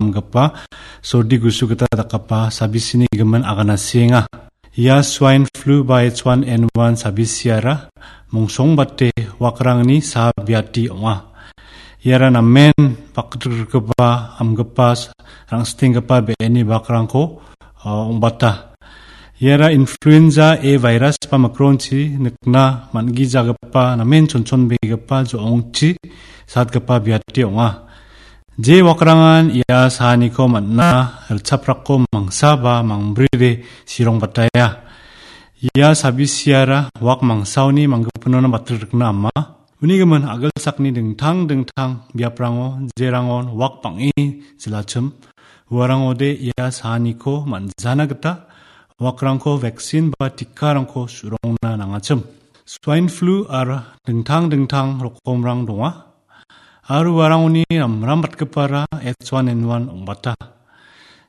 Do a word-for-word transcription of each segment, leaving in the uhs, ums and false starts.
amgipa sordi gusu gita dakgipa sabisini gimin agana sienga. Ia swine flu ba H one N one sabisiara mongsongbate wakrangni saa biati ong·a. Iara namen bakgrikgipa, amgipa, rangstenggipa be·eni bakrangko, uh, ong·bata. Iara influenza A virus ba mikronchi nikna man·gijagipa namen chonchonbegipa jo·ongchi satgipa biati ong·a. Je wakrangan ia saaniko man·a, ritchaprakko mangsa ba mangbride sirongbataya. Ia sabisiara wak mangsaoni manggipinona batrikna ama. Uni gimin agilsakni dingtang dingtang biaprango jerangon wak bang·e jilachim, uarangode ia saaniko man·jana gita wakrangko vaccine ba tikarangko su·rongna nangachim. Swine flu aro dingtang dingtang rokomrang donga. Aro uarangoni ramrambatgipara H one N one ong·bata.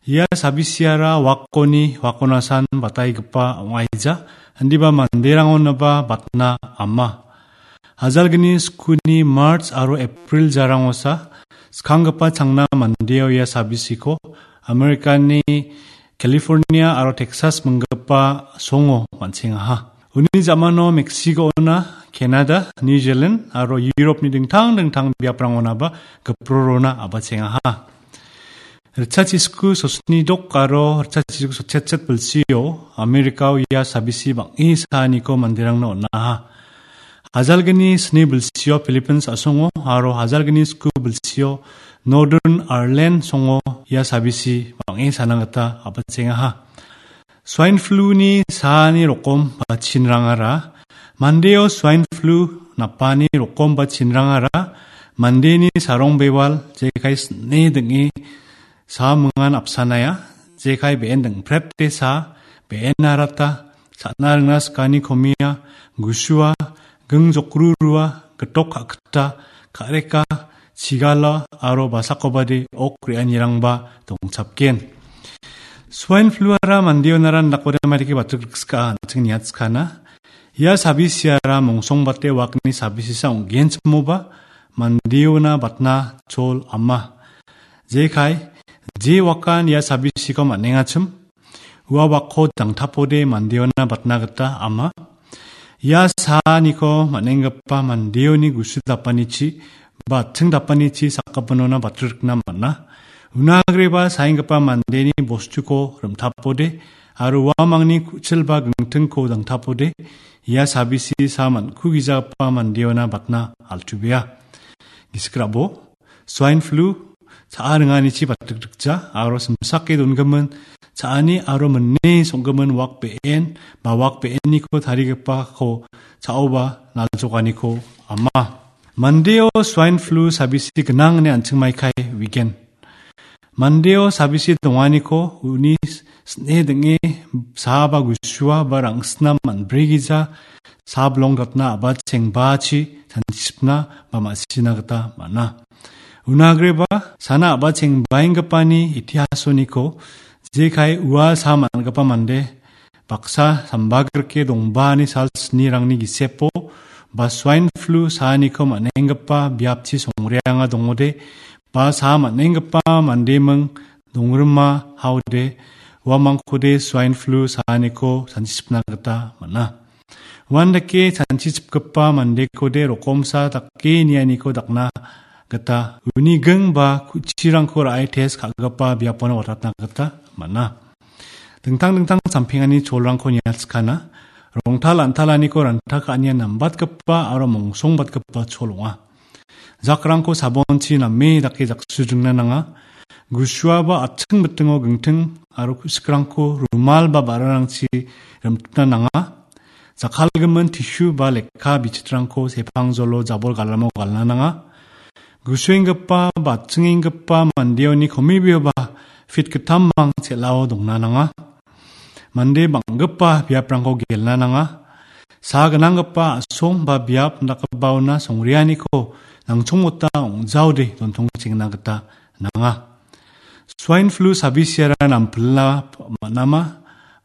Ia sabisiara wakoni wakonasan bataigipa ong·aija, indiba manderangonaba batna ama. Hajalgni skuni March aro April jarangosa skanggipa changna mandeo ia sabisiko Amerikani California aro Texas minggipa songo man·sengaha. Uni ja·mano Mexico-ona, Canada, New Zealand aro Europe-ni dingtang dingtang biaprangonaba giprorona abachengaha. Ritchachisku sosni dok aro ritchachisku sotchetchet bilsio Amerika-o ia sabisi bang·e saaniko manderangna on·aha. Hajalgni sni bilsio Philippines a·songo aro hajalgni sku bilsio Northern Ireland songo ia sabisi bang·e sana gita abachengaha. Swine flu-ni saani rokom ba chinrangara, mandeo swine flu napani rokom ba chinrangara, mandeni sarong bewal jekai sne ding·e sa mingan apsanaya, jekai be·en dingprepte sa, be·en arata, sa·na ringna skani komia, gusua, ging jokrurua, gitok ka·kita, ka·reka, chigala aro basakobade ok re·anirangba dongchapgen. Swine flu-ara mandeonara indakode maidake batrikrikskaa an·ching niatskana. Ia sabisiara mongsongbate wakni sabisisa ong·genchimoba mandeona batna chol ama. Jekai, je wakan ia sabisiko man·engachim, ua wakko dangtapode mandeona batna gita ama. Ia saaniko man·enggipa mandeoni gusu dapanichi ba atching dapanichi sakgipinona batrikna man·a. Unagreba saenggipa mandeni bostuko rim·tapode aro uamangni ku·chil ba gingtingko dangtapode ia sabisi sa man·kugijagipa mandeona batna altubeha. Gisik ra·bo. Swine flu, cha·a ringanichi batrikdikja, aro simsake dongimin cha·ani aro mine song·gimin wak be·en ba wak be·eniko tarigipako cha·oba naljokaniko ama. Mandeo swine flu sabisi gnang ine an·ching maikai uigen. Mandeo sabisi donganiko uni sne ding·e saa ba gusua ba rang·sina man·bregija sablong gatna a·bachengbachi chanchipna ba ma·sina gita man·a. Unagreba sana a·bachengbaenggipani itihasoniko jekai ua saa man·gipa mande baksa sambagrike dongbani sal snirangni gisepo ba swine flu saaniko man·enggipa biapchi songreanga dongode ba saa man·enggipa mandeming dongrima haode uamangkode swine flu saaniko chanchipna gita man·a. Uandake chanchichipgipa mandekode rokomsa dake nianiko dakna gita uni ging ba ku·chirangko ra·e test ka·gipa biapona watatna gita man·a. Dingtang dingtang champengani cholrangko niatskana. Rongtal antalaniko ranta ka·anian nambatgipa aro mongsongbatgipa chol ong·a. Jakrangko sabonchi name dake jaksudringna nanga. Gusua ba atching bitingo gingting aro ku·sikrangko rumal ba ba·rarangchi rimtipna nanga. Jakkalgimin tishu ba lekka bichitrangko sepangjolo jabol galamo galna nanga. Gusuenggipa ba atchingenggipa mandeoni komibioba fit gitammang chel·ao dongna nanga. Mande bang·gipa biaprangko gelna nanga. Saa gnanggipa a·song ba biap dakgipaona songreaniko nangchongmota ong·jaode dontongchengna gita nanga. Swine flu sabisiara nampilna man·ama,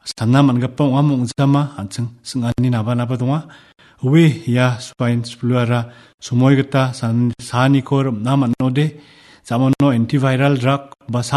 sana man·gipa ong·a ong·jama an·ching sing·ani naba naba donga. Ue ia swine flu-ara somoi gita san-, saaniko rim·na man·ode, jamano antiviral drug ba